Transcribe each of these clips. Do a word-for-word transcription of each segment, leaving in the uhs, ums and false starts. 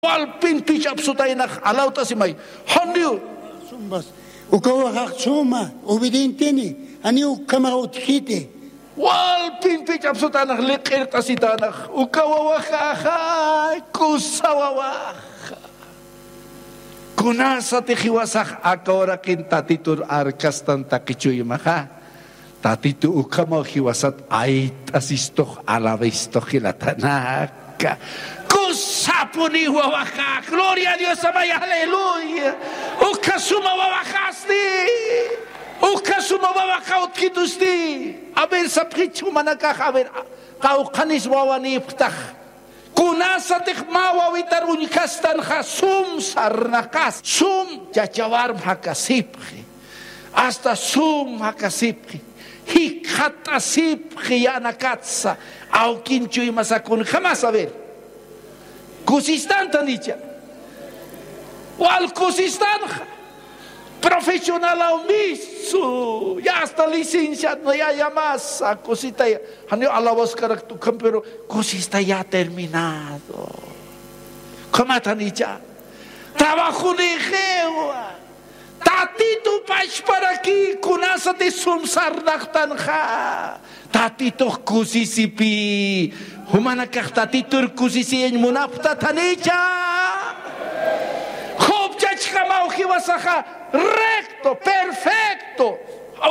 Walpin pich'apsutaynax alawt'asimay. Janiw. Uka wawaxax suma obedienteni, janiw ukhamax utjiti. Walpin pich'apsutaynax liq'irt'asitaynax. Uka wawaxaxa kusa wawaxa. Kunasatix jiwasax aka uraqin Tatitur arkastan taqi chuymaxa, Tatitu ukhamaw jiwasat ayt'asistux, alabistux jilatanaka. Kusapuni wawaxa, gloria a Dios, amay, aleluya. Ukha suma wawaxasti, ukha suma wawaxa utjitusti. A ver, sapxich jumanakax, a ver, qawqhanis wawanïpxtax. Kunasatix mä wawitar uñjastanxa, sum sarnaqas, sum chachawarm jakasipxi, hasta sum jakasipxi, jikxatt'asipxi yänakatsa, awkin chuymasa kunjamas, a ver. Kusistan tanicha. Wal kusistanxa. Profesionalaw misu, ya hasta licenciado, no, ya, ya más, a, cosita, ya. Janiw alabaskarak tukan, pero cosita ya terminado. Kama tanicha. Trabajo de jewa. Tatitu pachparaki kunasati sum sarnaqtanxa. Tatitux kusisipi, jumanakax Tatitur kusisiyañ munapxta tanicha. Jupchachkamaw jiwasaxa recto, perfecto,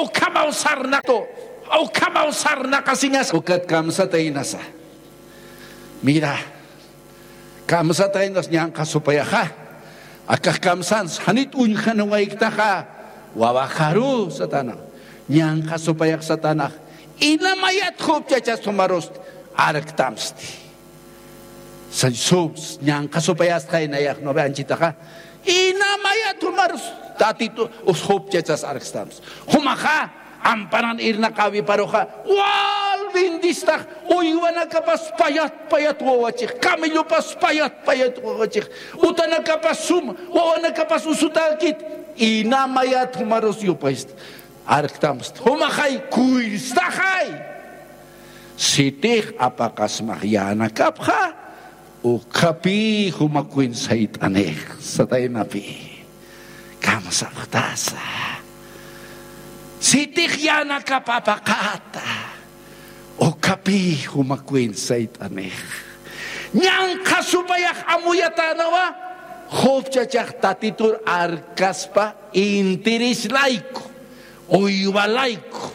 ukhamaw sarnaqtu, ukhamaw sarnaqasiñas. Ukat kamsataynasa. Mira, kamsataynas ñanqha supayaxa. Akax kamsans, janit uñjaniwayktaxa, wawaxaru satana. Ñanqha supayax satanax. Ina mayat jupchachas jumarust arktamsti. Sa-, su-, ñanqha supayastxa inayax, ¿no ve?, anchitaxa. Ina mayat jumarust Tatitu us jupchachas arktamsti. Jumaxa, amparan irnaqäwiparuxa, wal bendistax, uywanakapas payat payat wawachix, camellopas payat payat wawachix, utanakapas sum, wawanakapas usutäkit, ina mayat jumarus yupayst, arktamst, jumaxay, kuystaxay. Sitix apaqasmax yänakapxa, ukhapï jumakwin sayt'anix, sataynapï. Kamsapxtasa. Sitix yänakap apaqäta, ukhapï jumakwin sayt'anix. Ñanqha supayax amuyatänawa, jupchachax Tatitur arkaspa interés layku, uywa layku,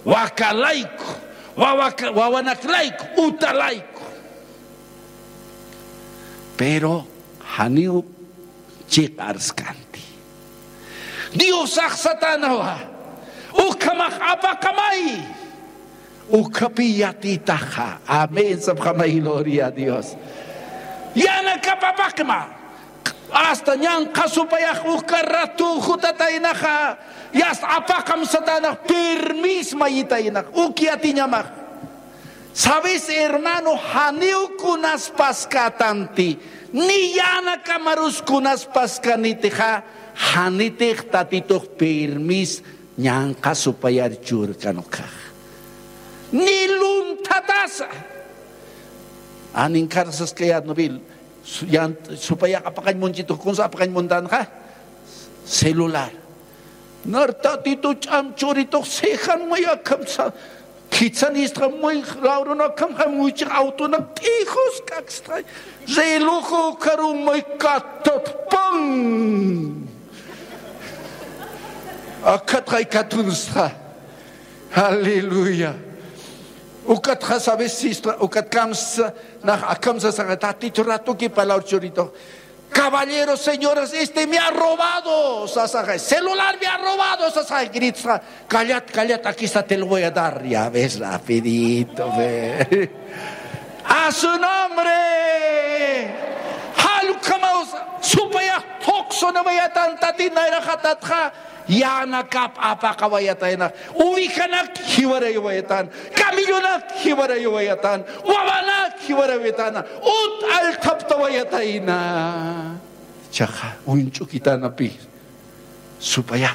waka layku, wawaka-, wawanak layku, uta layku. Pero janiw chiqarskanti. Diosax satanawa, ukhamax apaqamay, ukhapï yatitaxa. Amén, sapxamay, gloria a Dios. Yänakap apaqma. Hasta ñanqha supayax uka ratu jutataynaxa, yast apaqam satanax, permis mayitaynax, uk yatiñamax. ¿Sabes, hermano? Janiw kunas paskätanti, ni yänakamarus kunas paskanitixa, janitix Tatitux permis ñanqha supayar churkan ukkhax. Ni lunthatasa. Aninkarsaskayät nubil, su-, yan-, supayax apaqañ munchitux, kunsa apaqañ muntanxa, celular. Nar Tatitu ch'am churitux cejan may akham sa-, khitsan istxa may lawrun akham jam wichix autonak t'ijus k'akstxay. Reloj ukaru may katatpan. Akatxay katunstxa. Aleluya. Ukatxa, ¿sabes? Sistra, ukat kamsa, nax akham sasaxa, Tatitu ratuki palawr churitux. Caballero, señoras, este me ha robado, sasaxa, celular me ha robado, sasaxa, grita, callat, callat, aquí está, te lo voy a dar, ya ves, rapidito, ve. A su nombre. Jall ukhamaw supayax thuqsunawayatan Tatit nayraxatatxa, yänakap apaqawayataynax, ovejanak jiwarayawayatan, camellonak jiwarayawayatan, wawanak jiwarayawayatana, ut allthaptawayatayna. Chaxa, uñch'ukitanapi, supayax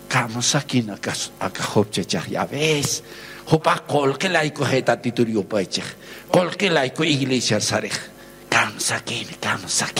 kamsakin aka, aka jupchachax, ya ves, jupax qullqi laykuxay Tatitur yupaychix, qullqi layku iglesiar sarix, kamsakin, kamsakin.